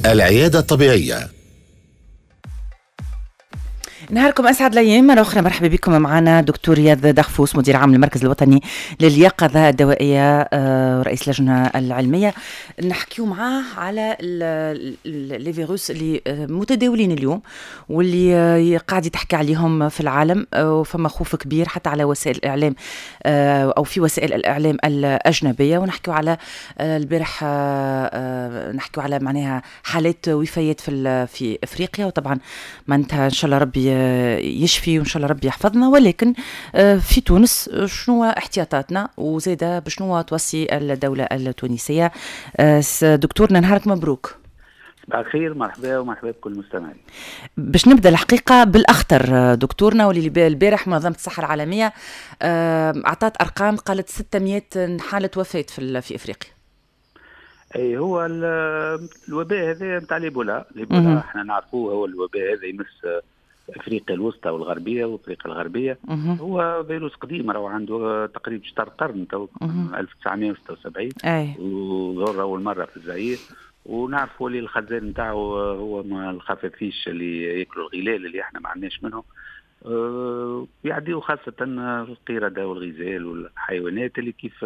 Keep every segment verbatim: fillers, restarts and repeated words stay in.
العيادة الطبيعية. نهاركم اسعد الايام. مرة اخرى مرحبا بكم معنا دكتور رياض دغفوس، مدير عام المركز الوطني لليقظه الدوائيه ورئيس اللجنة العلمية. نحكيو معاه على les virus اللي متداولين اليوم واللي قاعد يتحكى عليهم في العالم، وفما خوف كبير حتى على وسائل الاعلام او في وسائل الاعلام الاجنبيه. ونحكيو على البارح، نحكيو على معناها حالات وفيات في في افريقيا، وطبعا معناتها ان شاء الله ربي يشفي وان شاء الله ربي يحفظنا. ولكن في تونس شنو احتياطاتنا وزاده بشنو توصي الدولة التونسيه؟ دكتورنا نهارك مبروك. صباح الخير، مرحبا ومرحبا بكل المستمعين. باش نبدا الحقيقة بالاخطر دكتورنا، واللي البارح منظمة الصحة العالمية اعطت ارقام، قالت ستمية حاله وفاه في في افريقيا. اي هو الوباء هذا نتاع l'Ebola، l'Ebola احنا نعرفوه، هو الوباء هذا يمس افريقيا الوسطى والغربية وافريقيا الغربيه. مه. هو فيروس قديم، راهو عنده تقريبا شطر قرن تو، ألف وتسعمية وستة وسبعين وظهر اول مرة في الزائر. ونعرفوا اللي الخزان نتاعو هو ما الخفافيش اللي ياكلوا الغلال اللي احنا ما عندناش منهم، أه يعديوا خاصة القردة والغزال والحيوانات اللي كيف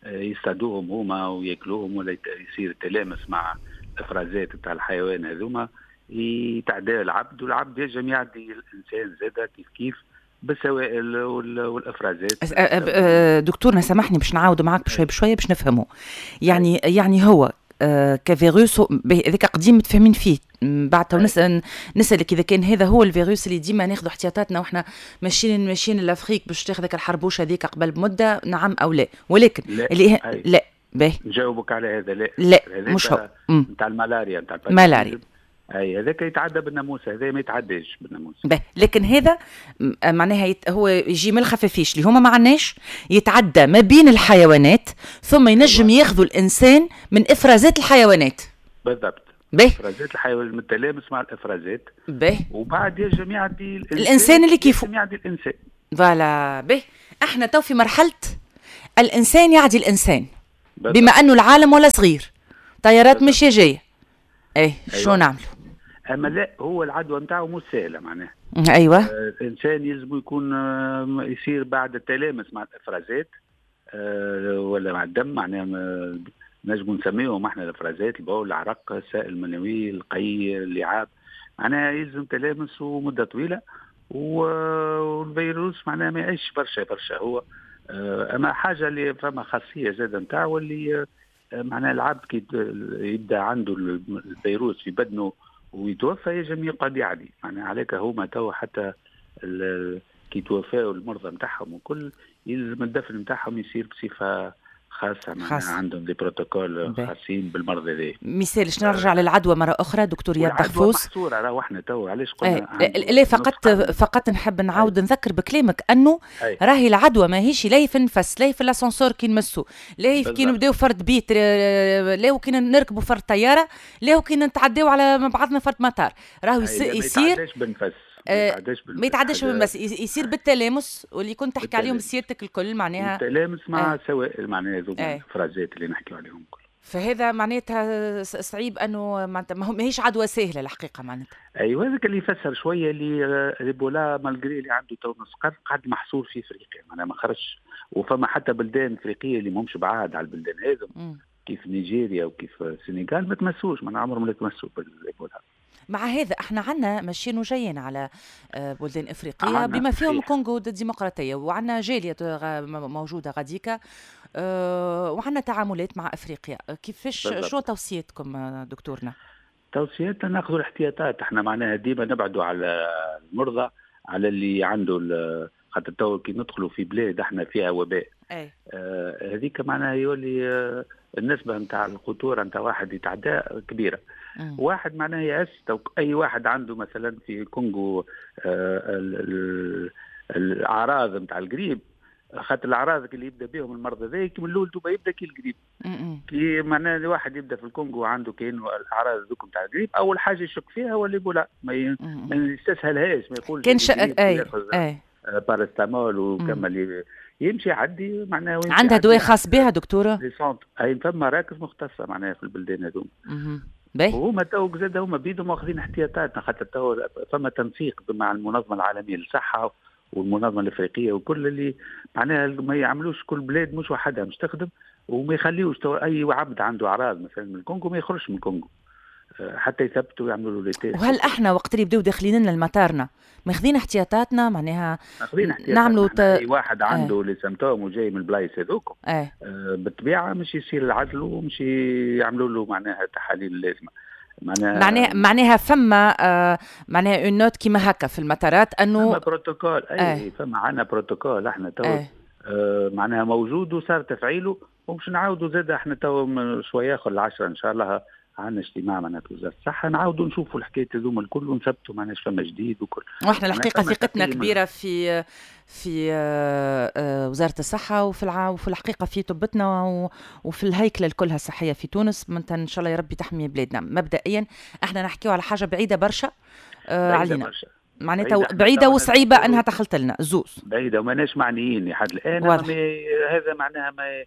يصطادوهم هما وياكلوهم ولا يصير تلامس مع الافرازات نتاع الحيوان هذوما يتعدى العبد، والعبد ينجم يعدي الانسان زاده كيف كيف بالسوائل والافرازات. دكتورنا سامحني باش نعاود معاك بشوية بشوية باش نفهمه. يعني يعني هو كفيروس هذاك قديم متفاهمين فيه، بعد تو نسال نسالك اذا كان هذا هو الفيروس اللي ديما ناخذ احتياطاتنا واحنا ماشيين ماشيين l'Afrique باش تاخذ الحربوشه هذيك قبل بمده، نعم او لا؟ ولكن لا. اللي لا باهي نجاوبك على هذا، لا لا مش هو نتاع الملاريا، نتاع الملاريا اي هذاك يتعدى بالناموس، هذا ما يتعداش بالناموس. باهي، لكن هذا معناها يت... هو يجي من الخفافيش اللي هما ما عندناش، يتعدى ما بين الحيوانات ثم ينجم أيوة. ياخذوا الانسان من افرازات الحيوانات. بالضبط. باهي، افرازات الحيوان المتلامس مع الافرازات. باهي، وبعد ينجم يعدي الانسان, الإنسان اللي كيفه يعدي الانسان. voilà. باهي، احنا تو في مرحلة الانسان يعدي الانسان. بالضبط. بما انه العالم ولا صغير، طيارات مش جاية، ايه أيوة. شو نعملوا؟ اما لا، هو العدوى نتاعو مش سهلة معناها. ايوه آه الانسان يلزم يكون آه يصير بعد التلامس مع الافرازات آه ولا مع الدم، معناها نجم نسميهم احنا الافرازات، البول، العرق، السائل المنوي، القي، اللعاب، معناها يلزم تلامس ومده طويلة، والفيروس معناها ما يعيش برشا برشا هو. آه اما حاجة اللي فما خاصية زاده نتاعو اللي آه معناها العبد كي يبدا عنده الفيروس في بدنه ويتوفى يجم يقعد يعدي، معناها عليك هما تو حتى كي توفاو المرضى نتاعهم وكل يلزم الدفن نتاعهم يصير بصفة خاصة، معناها عندهم des protocoles خاصين بالمرض هذا. مثالش نرجع للعدوى مرة اخرى دكتور رياض دغفوس. محصورة راهو احنا تو علاش قلنا لا، فقط فقط نحب نعاود نذكر بكلامك انه أي. راهي العدوى ماهيش لا في النفس، لا في l'ascenseur كي نمسو، لا كي نبداو فرد بيت، لا كي نركبوا فرد طياره، لا كي نتعداو على بعضنا فرد مطار، راهو يصير بالنفس، ما يتعداش بالمس، يصير بالتلامس واللي كنت تحكي عليهم سيادتك الكل، معناها التلامس مع سوائل، معناها هذوك الافرازات اللي نحكيو عليهم الكل. فهذا معناتها صعيب انه معناتها ماهيش عدوى سهلة الحقيقة معناتها. ايوه هذاك اللي يفسر شوية اللي l'Ebola malgré اللي عنده تو نص قرن قعد محصور في افريقيا، معناها ما خرجش، وفما حتى بلدان افريقية اللي ماهمش بعاد على البلدان هذم كيف نيجيريا وكيف السنغال ما تمسوش، معناها عمرهم ما تمسوا بالإيبولا. مع هذا احنا عندنا ماشيين وجايين على بلدان افريقية بما فيهم الكونغو الديمقراطية، وعندنا جالية موجودة غاديكا، وعندنا تعاملات مع افريقيا. كيفاش شو توصيتكم دكتورنا؟ توصياتنا ناخذ الاحتياطات احنا، معناها ديما نبعدوا على المرضى، على اللي عنده، خاطر تو كي ندخلوا في بلاد احنا فيها وباء آه هذيك معناها يولي آه النسبة نتاع الخطورة نتاع واحد يتعدى كبيرة. مم. واحد معناها يعس أي واحد عنده مثلا في الكونغو آه الأعراض نتاع القريب، خاطر الأعراض اللي يبدا بهم المرض هذا من الأول دوبا يبدا كي القريب. كي معناها الواحد يبدا في الكونغو عنده كاين الأعراض ذوك نتاع القريب، أول حاجة يشك فيها هو l'Ebola، ما, ما يستسهلهاش، ما يقولش كان شك أي أي باراسيتامول وكمل يمشي يعدي معناها. عندها دواء خاص بها دكتورة؟ اي فما مراكز مختصة معناها في البلدان هذوما. وهما تو زاد هما بيدهم واخذين احتياطاتنا، خاطر تو فما تنسيق مع المنظمة العالمية للصحة والمنظمه الافريقية وكل اللي معناها ما يعملوش كل بلاد مش وحدها مش تخدم، وما يخليوش تو اي عبد عنده اعراض مثلا من الكونغو ما يخرجش من الكونغو حتى يثبتوا ويعملوا له les tests. وهل احنا وقت اللي بداو داخلين لنا المطارنا ماخذين احتياطاتنا؟ معناها نعملوا ت... اي واحد عنده اه. les symptômes وجاي من البلايص هذوك اه. آه بالطبيعة مش يصير العزل ومش يعملوا له معناها التحاليل اللازمة. معناها معناها معناها فما آه معناها une note كيما هكا في المطارات انه فما بروتوكول. اي اه. فما عندنا بروتوكول احنا تو اه. آه معناها موجود وصار تفعيله، ومش نعاودوا زاد احنا تو شوية اخر العشرة ان شاء الله عندنا اجتماع معناها وزارة الصحة نعاودوا نشوفوا الحكاية هذوما الكل ونثبتوا معناها فما جديد وكل. واحنا الحقيقة ثقتنا كبيرة في في وزارة الصحة وفي الع... وفي الحقيقة في طبتنا وفي الهيكله الكلها الصحية في تونس. ان شاء الله يا ربي تحمي بلادنا. مبدئيا احنا نحكيو على حاجة بعيدة برشا آه علينا برشا. معناتها بعيدة, بعيدة وصعيبه انها تخلط لنا زوز بعيدة وماناش معنيين لحد الان. هذا معناها ما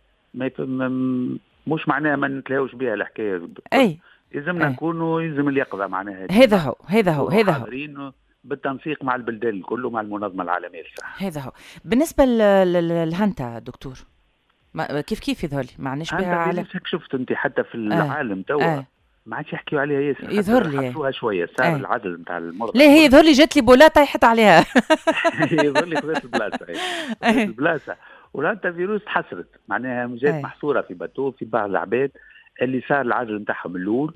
ما مش معناها ما نتلاهوش بها الحكاية. اي يلزمنا نكونوا يلزم اليقظة معناها. هذا هو هذا هو هذا هو بالتنسيق مع البلدان الكل ومع المنظمة العالمية للصحة. هذا هو. بالنسبة للهانتا دكتور ما كيف كيف يظهر لي ما عندناش بها على شفت انت حتى في العالم توا آه. ما عادش يحكيوا عليها ياسر، يظهر لي حطوها شوية صار آه. العدد نتاع المرضى. لا هي يظهر لي جات لي بولا طيحت عليها. يظهر لي خذت البلاصة البلاصة والهانتا فيروس تحسرت معناها جات محصورة في bateau في بعض العباد اللي صار العزل نتاعهم الاول،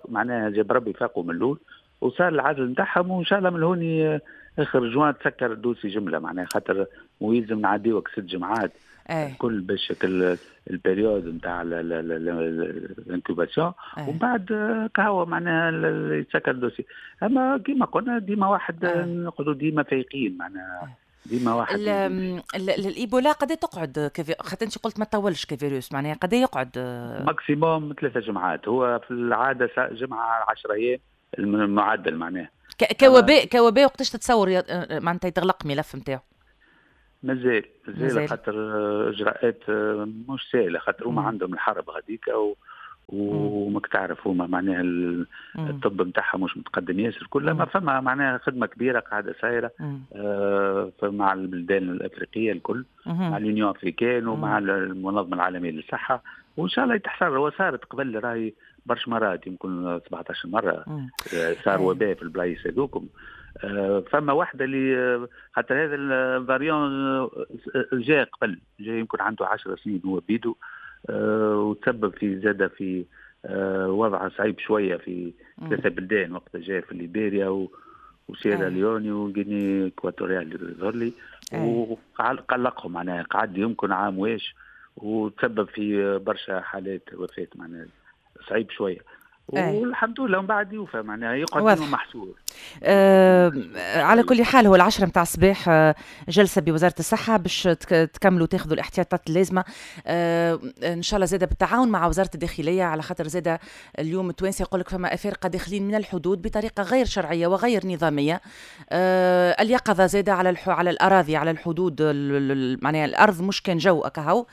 معناها جاب ربي فاقوا من الاول وصار العزل نتاعهم، وان شاء الله من هوني اخر جوان تسكر ال dossier جملة معناها، خاطر ويلزم نعديوك ست جمعات أي. كل باش ال période نتاع ال incubation ومن بعد كهو معناها يتسكر ال dossier. اما كيما قلنا ديما واحد نقعدوا ديما فايقين معناها ديما واحد. الايبولا قد تقعد كفي... خاطر انت قلت ما تطولش كفيروس، معناها قد يقعد maximum ثلاثة جمعات، هو في العادة جمعه عشرة ايام المعدل معناها. كوباء كوباء وقتاش تتصور معناتها يتغلق ملف نتاعو؟ مازال مازال خاطر اجراءات مش سهلة، خاطر هما عندهم الحرب هذيك و... وماك تعرف هما معناها الطب نتاعها مش متقدم ياسر كل ما فما معناها خدمة كبيرة قاعدة سايرة آه مع البلدان الافريقية الكل، مع l'Union africaine ومع المنظمة العالمية للصحة، وان شاء الله يتحصل. وصارت قبل راهي برش مرات يمكن سبعطاش مرة صار وباء في البلايص هذوكم. فما واحدة اللي خاطر هذا ال variant جاء قبل، جاء يمكن عنده عشر سنين هو بيدو، وتسبب في زاد في وضع صعيب شوية في ثلاثة بلدان وقت جاء في ليبيريا وسيرا ليوني و Guinée équatoriale يظهر لي، وقلقهم معناها قعد يمكن عام واش وتسبب في برشا حالات وفاه معناها صعيب شوية. والحمد لله من بعد يوفى معناها يقعد محصور. أه على كل حال هو العشرة متاع الصباح جلسة بوزارة الصحة باش تكملوا تاخذوا الاحتياطات اللازمة. أه إن شاء الله زادة بالتعاون مع وزارة الداخلية، على خاطر زادة اليوم التوانسة يقول لك فما أفارقة داخلين من الحدود بطريقة غير شرعية وغير نظامية. أه اليقظة زادة على الح... على الأراضي على الحدود، معناها الأرض مش كان جو أكهو،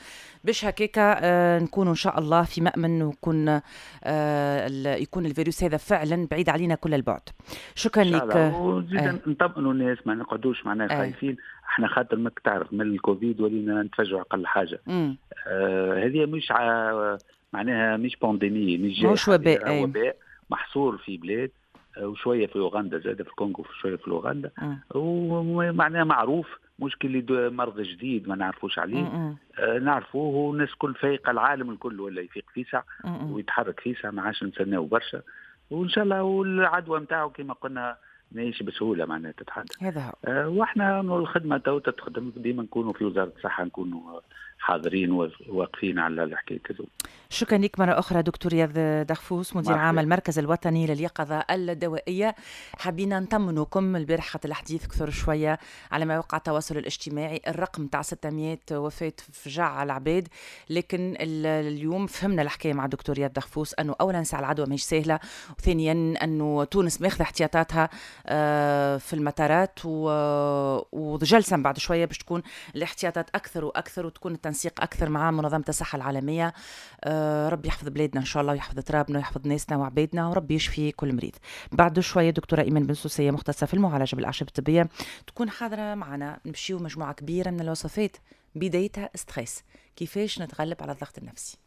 باش هكاكا آه نكونوا إن شاء الله في مأمن ويكون آه يكون الفيروس هذا فعلا بعيد علينا كل البعد. شكرا لك. وزيد آه. نطمئنوا الناس ما نقعدوش معناها آه. خايفين احنا، خاطر ماك تعرف من الكوفيد ولينا نتفاجئوا اقل حاجة. آه هذه مش ع... معناها مش pandémie، مش مش وباء، وباء محصور في بلاد وشوية في اوغندا زاد في الكونغو شوية في اوغندا، ومعناها معروف مشكل مرض جديد ما نعرفوش عليه. آه نعرفوه والناس كل فايقه، العالم الكل ولا يفيق فيسع ويتحرك فيسع، ما عادش نستناو برشا، وان شاء الله والعدوى نتاعو كما قلنا ماهيش بسهولة معناها تتحدى. هذا هو. آه واحنا الخدمة تو تتخدم ديما نكونوا في وزارة الصحة نكونوا حاضرين وواقفين على الحكاية هذو. شكرا لك مرة اخرى دكتور رياض دغفوس، مدير عام المركز الوطني لليقظه الدوائية. حبينا نطمنكم البارح خاطر الحديث كثر شوية على مواقع التواصل الاجتماعي، الرقم تاع ستمية وفاه فجع على العباد، لكن اليوم فهمنا الحكاية مع دكتور رياض دغفوس انه اولا ساعة العدوى ماهيش سهلة، وثانيا انه تونس ماخذه احتياطاتها في المطارات، وجلسه بعد شوية باش تكون الاحتياطات اكثر واكثر وتكون التنسيق اكثر مع منظمة الصحة العالمية. آه ربي يحفظ بلادنا ان شاء الله، ويحفظ ترابنا ويحفظ ناسنا وعبادنا، وربي يشفي كل مريض. بعد شوية دكتورة ايمان بن سوسيه، مختصة في المعالجة بالاعشاب الطبيه، تكون حاضره معنا. نمشيو مجموعة كبيرة من الوصفات بدايتها stress، كيفاش نتغلب على الضغط النفسي.